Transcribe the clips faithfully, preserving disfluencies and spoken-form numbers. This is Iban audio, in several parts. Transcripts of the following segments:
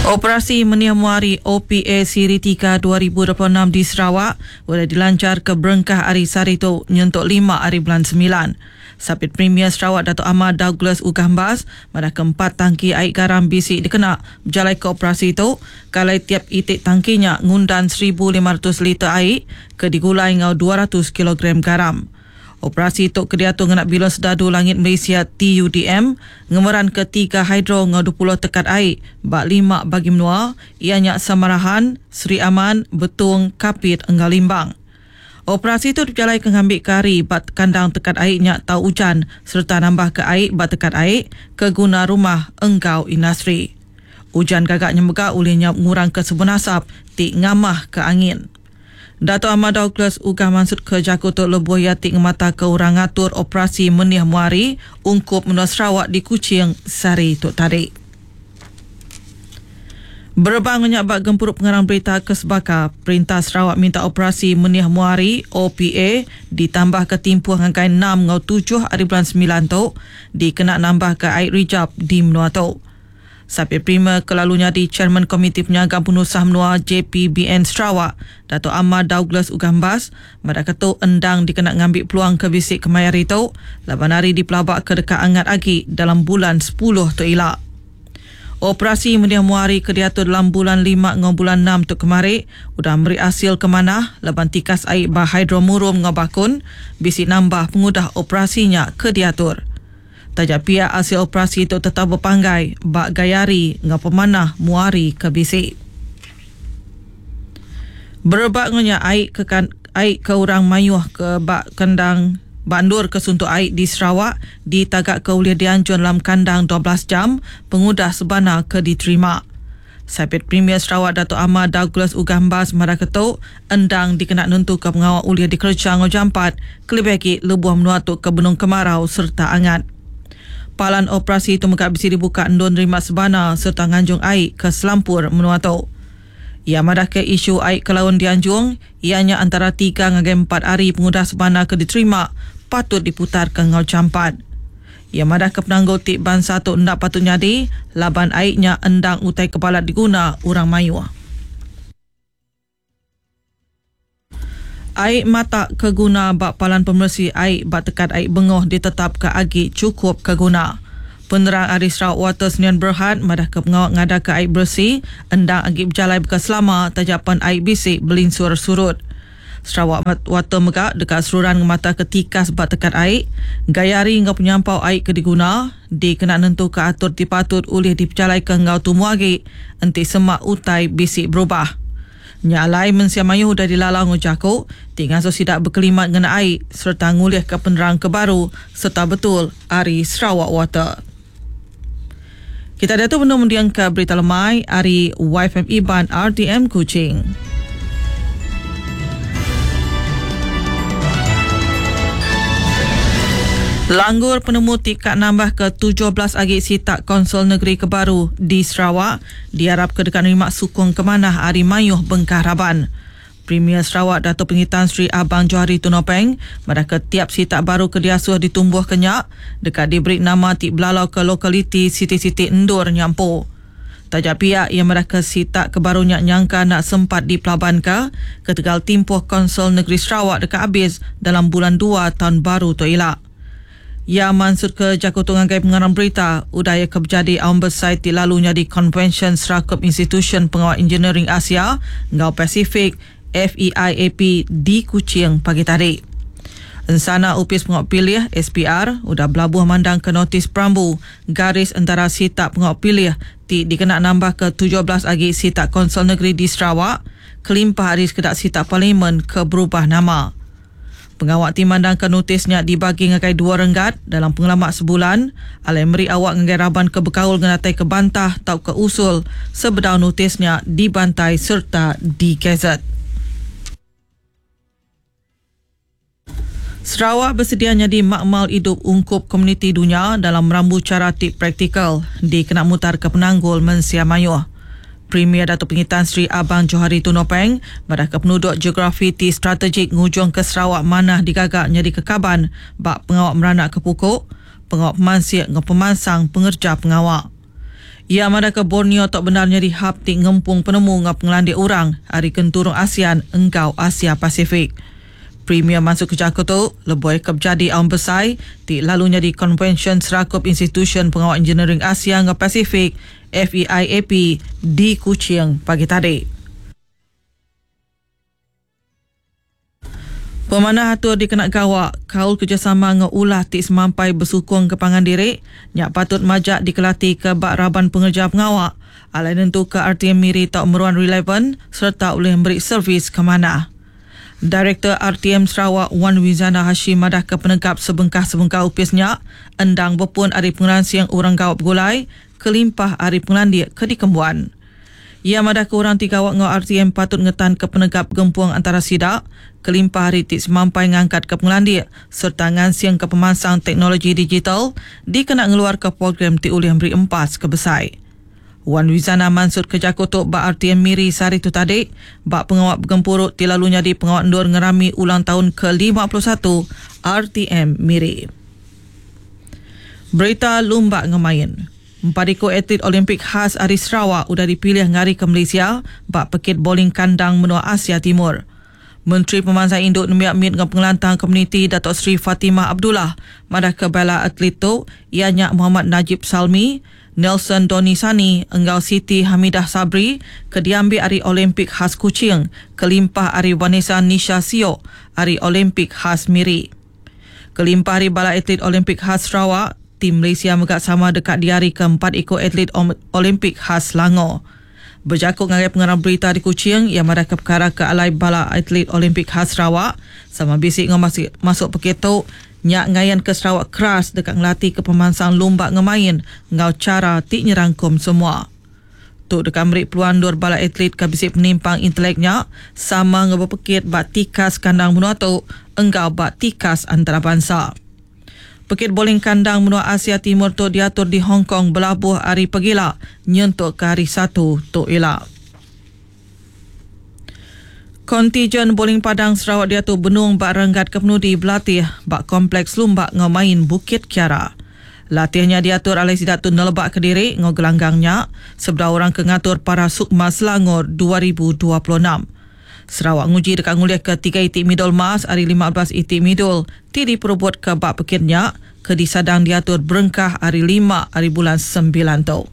Operasi Meniah Muari O P A Siri tiga dua ribu dua puluh enam di Sarawak boleh dilancar ke berengkah hari sehari tu nyentuk lima hari bulan sembilan. Sapit Premier Sarawak Dato' Amar Douglas Uggah Embas pada keempat tangki air garam bisi dikena berjalai ke operasi itu kalai tiap itik tangkinya ngundan seribu lima ratus liter air ke digulai ngau dua ratus kilogram garam. Operasi itu kediatu ngena Bilon Sedadu Langit Malaysia T U D M ngemeran ke tiga hidro ngau dua puluh tekat air bak lima bagi menua ianya Samarahan, Sri Aman, Betung, Kapit enggau Limbang. Operasi itu berjalai ke ngambil ke hari bak kandang tekat airnya tau hujan serta nambah ke air bak tekat air ke guna rumah enggau industri. Hujan gagak nyemega ulihnya ngurang ke sebun asap ti ngamah ke angin. Dato' Amar Douglas Uggah maksud ke jaku tu lebuh ia ti ngemata ke orang ngatur operasi Meniah Muari ungkup menua Sarawak di Kuching sehari tu tadi. Berebang ngenyak bak gempuru pengarang berita ke sebaka, Perintah Sarawak minta operasi Meniah Muari O P A ditambah ke timpuh ngangkai enam ngau tujuh hari bulan sembilan tu dikena nambah ke air rijab di menua tu. Sapit Premier kelalunya di Chairman Komiti Penyagam Penusah Menua J P B N Sarawak, Dato' Amar Douglas Uggah Embas, pada ketu endang dikena ngambil peluang ke bisik kemayar itu, laban hari dipelabak ke dekat angat agi dalam bulan sepuluh tu ilak. Operasi Meniah Muari ke diatur dalam bulan lima ngau bulan enam tu kemari, udah meri hasil ke mana laban tikas air bah hidromurum ngau bakun, bisik nambah pengudah operasinya ke diatur. Tajak pihak hasil operasi itu tetap berpanggai bak gayari ngau pemanah muari ke bisik. Berebak ngonya air ke kan, air ke orang mayuh ke bak kandang bandur ke suntuk air di Sarawak ditagak ke uliah dianjur dalam kandang dua belas jam pengudah sebana ke diterima. Sapit Premier Sarawak Dato' Amar Douglas Uggah Embas marah ketuk endang dikena nentu ke pengawal uliah dikerja ngau jampat kelebih lagi lebuh menuatuk ke Benung Kemarau serta angat. Palan operasi itu megak bisi dibuka endun nerima sebana serta nganjung air ke selampur menua tu. Ia madah ke isu air ke laun dianjung, ianya antara tiga ngagai empat hari pengudah sebana ke diterima patut diputar ke ngau campat. Ia madah ke penanggul tik bangsa tu ndak patut nyadi, laban airnya endang utai kepala diguna orang mayuh. Air mata keguna bak palan pemersi air bak tekat air bengoh ditetap ke agi cukup keguna. Penerang Ari Sarawak Water Sdn Berhad madah ke pengawak ngada ke air bersih endang agi berjalai bekas selama tajapan air bisik belinsur surut. Sarawak Water mega dekat seruran ngemata ke tikas bak tekat air, gayari ngau penyampau air ke diguna, dikena nentu ke atur dipatut ulih diperjalai ke ngau tumu agi, enti semak utai bisik berubah. Nyalai mensia mayu udah dilalau ngujaku, tinggal so sidak berkelimat ngena air serta ngulih ke penerang ke baru serta betul Ari Sarawak Water. Kita ada tu penuh mendiang ke berita lemai Ari Y F M Iban R T M Kuching. Langgur penemu tikat nambah ke tujuh belas agi sitak Konsol Negeri Kebaru di Sarawak diharap ke dekat nerima sukung kemanah Ari Mayuh Bengkah Raban. Premier Sarawak Dato' Pengitan Sri Abang Johari Tun Openg madah ke tiap sitak baru ke diasuh ditumbuh kenyak dekat diberi nama ti belalau ke lokaliti siti-siti endur nyampu. Tajak pihak yang madah ke sitak kebarunya nyangka nak sempat dipelabankan ke tegal timpuh Konsol Negeri Sarawak dekat habis dalam bulan dua tahun baru tu ilak. Ya mansud ke Jakarta ngagai pengarang berita udaya kebjadi aum besar ti lalunya di Convention Serakup Institution Pengawal Engineering Asia ngau Pasifik F E I A P di Kuching pagi tadi. Ensana Upis Pengawal Pilih S P R udah belabuh mandang ke notis perambu garis antara sitak pengawal pilih ti dikena nambah ke tujuh belas agi sitak Konsol Negeri di Sarawak kelimpah hari sekedak sitak parlimen ke berubah nama. Pengawak ti mandang ke notisnya dibagi ngagai dua renggat dalam pengelamak sebulan alai meri awak ngagai raban ke bekaul ngenatai ke bantah tau ke usul sebedau notisnya dibantai serta digazet. Sarawak bersedia jadi makmal hidup ungkup komuniti dunia dalam merambu cara tip praktikal dikena mutar ke penanggul mensia mayuh. Premier Dato' Pengitan Sri Abang Johari Tun Openg madah ke penduduk geografi ti strategik ngujung ke Sarawak manah digagak jadi kekaban bak pengawak meranak ke pukuk, pengawak pemansik ngau pemansang pengerja pengawak. Ia madah ke Borneo tok benar nyadi hub ti ngempung penemu ngau pengelandik orang ari kenturung ASEAN engkau Asia Pasifik. Premier masuk ke jaku tu, leboi ke jadi aum besai ti lalu nyadi Konvensyen Serakup Institution Pengawal Engineering Asia ngau Pasifik F E I A P di Kuching pagi tadi. Pemanah atur dikena gawak, kaul kerjasama ngau ulah ti semampai bersukung ke pangan diri, nyak patut majak dikelati ke bak raban pengerja pengawak, alai nentu ke R T M Miri tau meruan relevan serta boleh memberi servis ke mana. Direktur R T M Sarawak Wan Wizana Hashim madah ke penegap sebengkah-sebengkah upisnya endang berpun ari pengeransing orang gawak bergulai, kelimpah ari pengelandik ke dikembuan. Ia madah ke orang tiga awak ngau R T M patut ngetan ke penegap gempung antara sidak, kelimpah hari ti semampai ngangkat ke pengelandik serta ngansing ke pemansang teknologi digital dikena ngeluar ke program ti ulih beri empas ke besai. Wan Wizana mansut ke jaku tu ba R T M Miri sehari tu tadi ba pengawak bergempuruk ti lalu nyadi pengawak endur ngerami ulang tahun ke lima puluh satu R T M Miri. Berita lumba ngemain. Empat ikut atlet Olimpik khas ari Sarawak udah dipilih ngari ke Malaysia bak pekit bowling kandang menua Asia Timur. Menteri Pemansang Induk Nembiak Mit dengan Pengelantang Komuniti Datuk Seri Fatimah Abdullah madah ke bala atlet tu ianya Muhammad Najib Salmi, Nelson Doni Sani enggau Siti Hamidah Sabri ke diambil ari Olimpik khas Kuching kelimpah ari Vanessa Nisha Siok ari Olimpik khas Miri. Kelimpah ari bala atlet Olimpik khas Sarawak, tim Malaysia megak sama dekat diari keempat ikut atlet Olimpik khas Selangor. Berjakut ngagai pengarang berita di Kuching yang madah ke perkara ke alai bala atlet Olimpik khas Sarawak sama bisik ngau masuk, masuk peketok nyak ngayan ke Sarawak keras dekat ngelatih ke pemansang lumba ngemain ngau cara ti nyerangkum semua. Tu dekat merik peluang dua bala atlet ke bisik penimpang inteleknya sama ngau berpekit bak tikas kandang menua tu enggau bak tikas antarabangsa. Pekit bowling kandang menua Asia Timur tu diatur di Hong Kong belabuh hari pegila nyentuk ke hari Satu tu ila. Kontijen bowling Padang Sarawak diatur benung bak renggat kepenudi berlatih bak kompleks lumba ngau main Bukit Kiara. Latihnya diatur oleh sidak tu nelebak ke diri ngau gelanggangnya sebelah orang ke ngatur para Sukma Selangor dua ribu dua puluh enam. Sarawak nguji dekat nguliah ke tiga itik midul emas hari lima belas itik midul ti diperubut ke bak pekitnya ke disadang diatur berengkah hari lima hari bulan sembilan tu.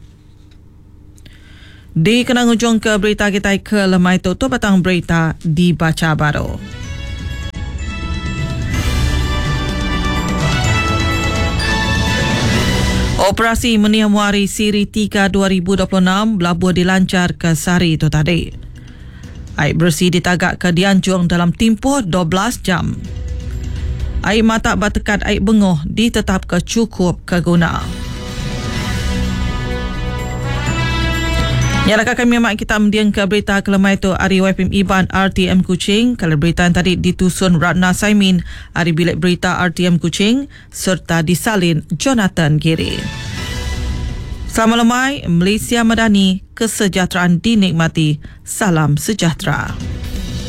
Di kena ngujung ke berita kita ke lemai tu, tu batang berita dibaca baru. Operasi Meniah Muari Siri tiga dua ribu dua puluh enam belabuh dilancar ke sehari itu tadi. Air bersih ditagak ke dianjung dalam tempoh dua belas jam. Air mata bertekat air bengoh ditetap ke cukup keguna. Nyalakan kami mak kita mendiang ke berita kelemai tu ari Y P M Iban R T M Kuching. Kalau berita yang tadi ditusun Ratna Saimin ari bilik berita R T M Kuching serta disalin Jonathan Giri. Selamat lemai, Malaysia Madani, kesejahteraan dinikmati. Salam sejahtera.